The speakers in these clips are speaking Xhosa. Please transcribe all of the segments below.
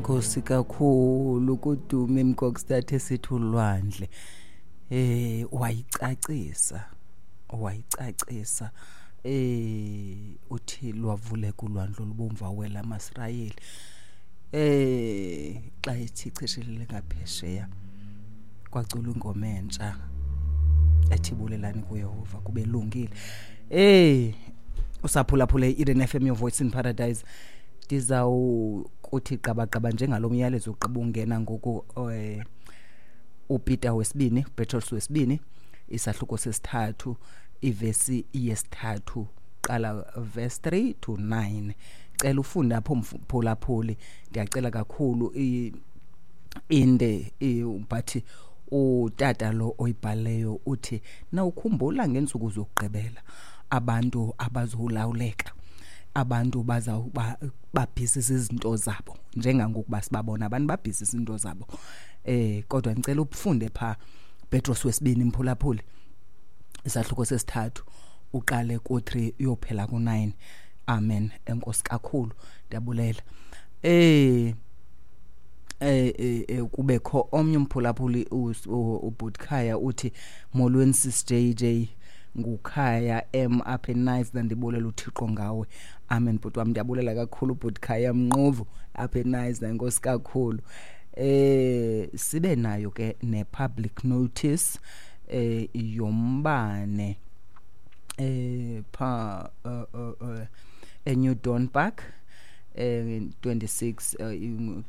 Nkosi kakhulu kudume Mkokstad esithi ulwandle. Wayicacisa, wayicacisa. Uthi lwavuleka ulwandle olubomvu awela amaSirayeli. Xa ethi cheshelele ngaphesheya kwacula ingoma entsha ethi bulelani kuYehova kube lungile. Usaphulaphule i-Eden FM, your voice in paradise. Ndizawukuthi gqabagqaba njengalo myalezo ugqiba ungena ngoku, uPeter wesibini, Petros wesibini, isahluko sesithathu, ivesi yesithathu, qala verse 3 to 9. Cela ufunde apho mphulaphuli, ndiyacela kakhulu, inde but utata lo oyibhaleyo uthi nawukhumbula ngeentsuku zokugqibela abantu abazolawuleka, abantu bazawuba babhizi izinto zabo njengangokuba sibabona abantu babhizi izinto zabo. Kodwa ngicela ufunde pha Petros wesibini mphulaphuli, isahluko sesithathu, uqale ku-3 uyophela ku-9. Amen. Enkosi kakhulu, ndiyabulela. Kubekho omnye umphulaphuli uButkhaya uthi molweni sis JJ, nguKhaya M apha eNice, ndibulela uThixo ngawe. Amen bhuti wam, ndiyabulela kakhulu bhuti Mnqovu apha eNice, enkosi kakhulu. Sibe nayo ke ne public notice yombane pha eNew Dawn Park, 26,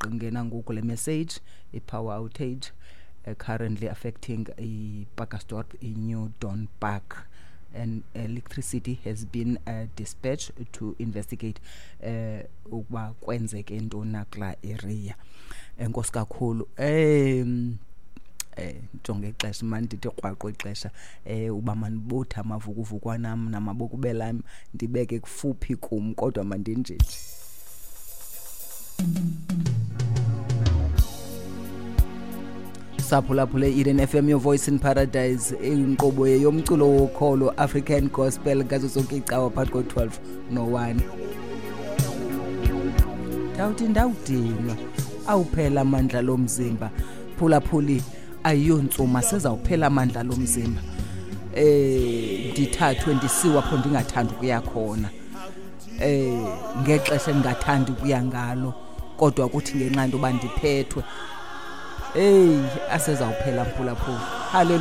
ingena ngoku le message, i-power outage currently affecting i-Pacaltsdorp, i-New Dawn Park, and electricity has been dispatched to investigate ukuba kwenzeke ntoni na kulaa area. Enkosi kakhulu. Jonge ixesha mani, ndithi krwaqo ixesha, uba mandibuthe amavukuvukwana am namabokubela am ndibeke kufuphi kum, kodwa mandinjeje. Saphulaphule Eden FM, your voice in paradise, inkqubo yomculo wokholo, African gospel, ngazo zonke iicawa phakathi ko-12 no-1. Ndawuthi ndawudinwa, awuphela amandla lomzimba. Phulaphuli, ayiyontsuma, sezawuphela amandla lomzimba. Ndithathwe ndisiwa apho ndingathandi ukuya khona, ngexesha endingathandi ukuya ngalo, kodwa kuthi ngenxa yoba ndiphethwe, hey, asezawuphela mphulaphula. Haleluya.